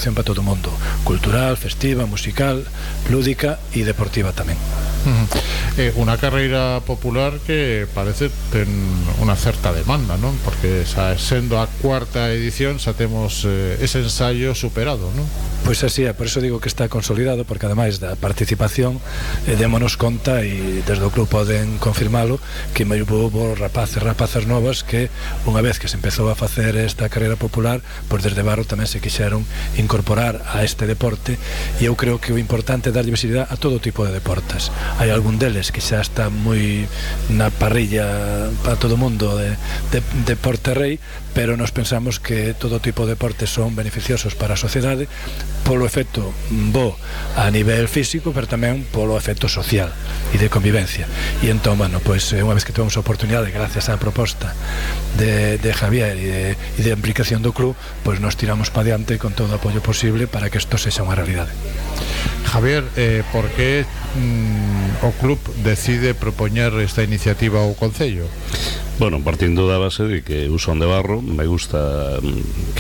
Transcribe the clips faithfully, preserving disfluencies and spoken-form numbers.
opción para todo o mundo, cultural, festiva, musical, lúdica e deportiva tamén. Uh-huh. eh, Unha carreira popular que parece ten unha certa demanda, non? Porque xa sendo a cuarta edición xa temos eh, ese ensaio superado, non? Pois así é, por iso digo que está consolidado, porque ademais da participación eh, démonos conta, e desde o club poden confirmalo, que moi houve rapaces, rapazas novas que unha vez que se empezou a facer esta carreira popular, pois desde Barro tamén se quixeron incorporar a este deporte, e eu creo que o importante é darlle visibilidade a todo tipo de deportes. Hai algún deles que xa está moi na parrilla para todo o mundo de, de, de deporte rei, pero nos pensamos que todo tipo de deportes son beneficiosos para a sociedade polo efecto bo a nivel físico, pero tamén polo efecto social e de convivencia. E entón, bueno, pois unha vez que temos a oportunidade, gracias á proposta de, de Javier e de, e de implicación do club, pois nos tiramos para diante con todo o apoio posible para que isto sexa unha realidade. Javier, eh, por que mm, o club decide propoñer esta iniciativa ao Concello? Bueno, partindo da base de que eu son de Barro, me gusta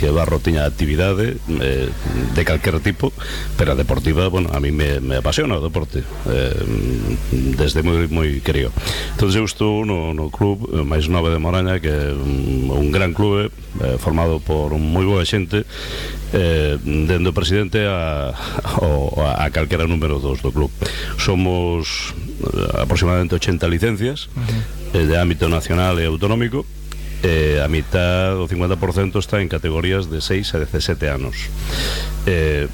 que Barro teña actividade eh, de calquer tipo, pero a deportiva, bueno, a mí me, me apasiona o deporte eh, desde moi, moi querido. Entón eu estou no, no club máis nove de Moraña, que é un, un gran clube eh, formado por moi boa xente, eh, dende o presidente a, a, a calquera número dos do club. Somos aproximadamente ochenta licencias, uh-huh, de ámbito nacional e autonómico, e a mitad, o cincuenta por cento, está en categorías de seis a dezasete anos. Eh,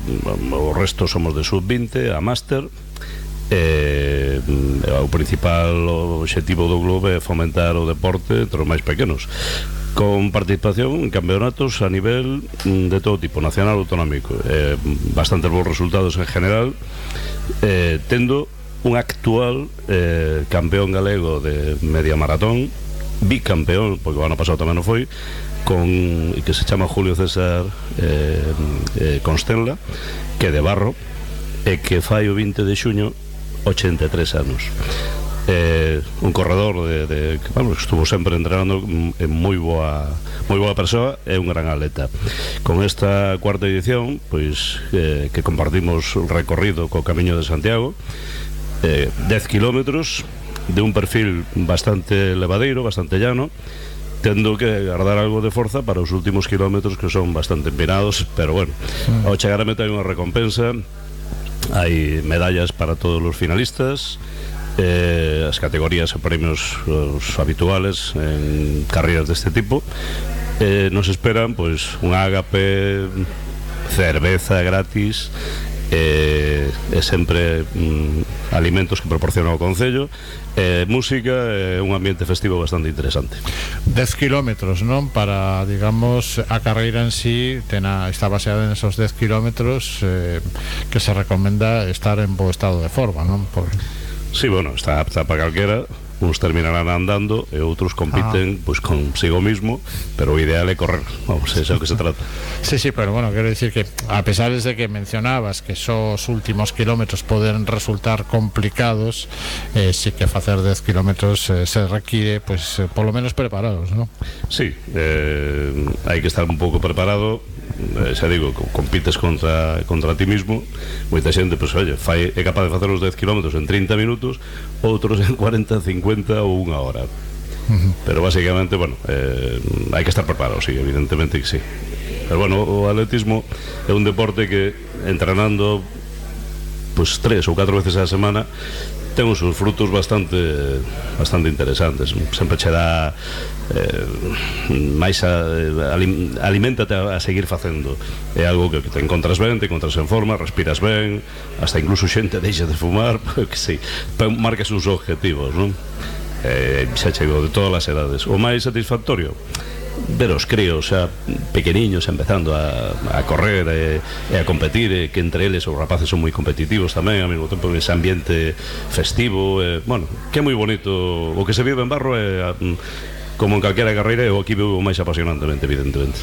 o resto somos de sub vinte a máster. Eh, o principal obxectivo do club é fomentar o deporte entre os máis pequenos, con participación en campeonatos a nivel de todo tipo, nacional ou autonómico. Eh, bastantes bons resultados en general, eh, tendo un actual eh, campeón galego de media maratón, bicampeón, porque o ano pasado tamén o foi, con, que se chama Julio César eh, eh, Constenla, que é de Barro, e que fai o vinte de xuño ochenta e tres anos. Eh, un corredor de, de, que, bueno, estuvo sempre entrenando, en moi boa moi boa persoa, é un gran atleta. Con esta cuarta edición, pois eh, que compartimos o recorrido co Camiño de Santiago, eh, dez kilómetros de un perfil bastante levadeiro, bastante llano, tendo que guardar algo de forza para os últimos kilómetros, que son bastante empinados, pero bueno, mm. ao chegar a meta hai unha recompensa, hai medallas para todos os finalistas, eh, as categorías e premios os habituales en carreras deste tipo. Eh, nos esperan pois un ágape, cerveza gratis, e, e sempre mm, alimentos que proporciona o Concello, e música, e un ambiente festivo bastante interesante. dez kilómetros, non? Para, digamos, a carreira en sí tena, está baseada en esos dez kilómetros, eh, que se recomenda estar en bo estado de forma, non? Por... Sí, bueno, está apta para calquera. Uns terminarán andando e outros compiten ah. pois consigo mismo, pero o ideal é correr, vamos, é o que se trata. Sí, sí, pero bueno, quero dicir que a pesar de que mencionabas que esos últimos kilómetros poden resultar complicados, eh, sí que facer dez kilómetros eh, se require, pues, eh, polo menos preparados, ¿no? Sí, eh, hai que estar un pouco preparado. Eh, xa digo, compites contra, contra ti mismo. Moita xente, pois, oye, fai, é capaz de facer os dez kilómetros en trinta minutos, outros en cuarenta, cincuenta ou unha hora. Uh-huh. Pero basicamente, bueno, eh, hai que estar preparado, sí, evidentemente que sí. Pero bueno, o atletismo é un deporte que entrenando pois tres ou catro veces á semana ten os seus frutos bastante bastante interesantes. Sempre che dá eh, máis a, alim, aliméntate a, a seguir facendo. É algo que, que te encontras ben, te encontras en forma, respiras ben, hasta incluso xente deixa de fumar, porque sí, marcas uns objetivos, non? Eh, xa chegou de todas as edades. O máis satisfactorio, ver os críos xa pequeniños empezando a, a correr e, e a competir, e que entre eles os rapaces son moi competitivos tamén, ao mesmo tempo ese ambiente festivo, e, bueno, que é moi bonito. O que se vive en Barro é a, como en calquera carreira, e o aquí vivo máis apasionantemente, evidentemente.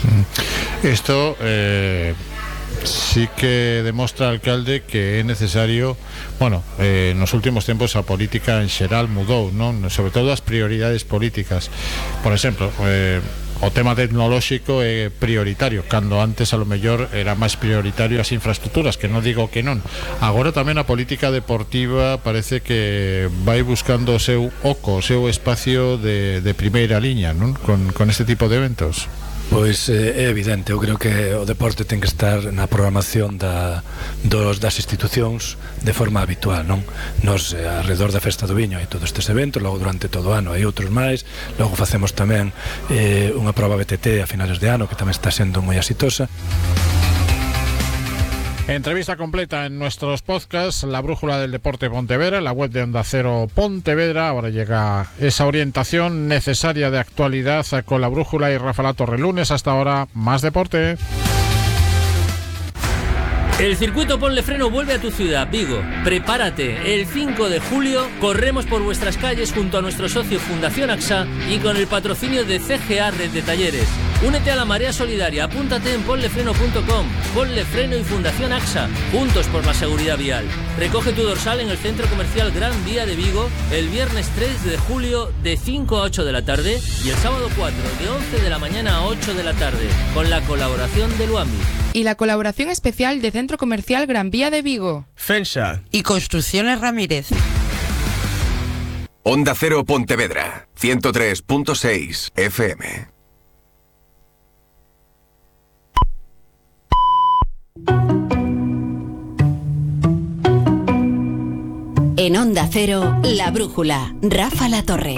Isto eh, sí que demostra, alcalde, que é necesario, bueno, eh, nos últimos tempos a política en xeral mudou, non? Sobre todo as prioridades políticas. Por exemplo, eh, o tema tecnolóxico é prioritario, cando antes a lo mellor era máis prioritario as infraestructuras, que non digo que non. Agora tamén a política deportiva parece que vai buscando o seu oco, o seu espacio de, de primeira liña, non? Con, con este tipo de eventos. Pois é evidente, eu creo que o deporte ten que estar na programación da, dos, das institucións de forma habitual, non? Nos, eh, alrededor da Festa do Viño hai todos estes eventos, logo durante todo o ano hai outros máis, logo facemos tamén eh, unha proba B T T a finales de ano que tamén está sendo moi exitosa. Entrevista completa en nuestros podcasts, La Brújula del Deporte Pontevedra, la web de Onda Cero Pontevedra. Ahora llega esa orientación necesaria de actualidad con La Brújula y Rafa La Torre. Lunes hasta ahora, más deporte. El circuito Ponle Freno vuelve a tu ciudad, Vigo. Prepárate, el cinco de julio corremos por vuestras calles junto a nuestro socio Fundación AXA y con el patrocinio de C G A Red de Talleres. Únete a la marea solidaria, apúntate en ponlefreno punto com. Ponle Freno y Fundación AXA, juntos por la seguridad vial. Recoge tu dorsal en el Centro Comercial Gran Vía de Vigo el viernes tres de julio de cinco a ocho de la tarde y el sábado cuatro de once de la mañana a ocho de la tarde, con la colaboración de Luami. Y la colaboración especial de Centro Comercial Gran Vía de Vigo, Fensa y Construcciones Ramírez. Onda Cero Pontevedra, ciento tres punto seis F M. En Onda Cero, La Brújula, Rafa La Torre.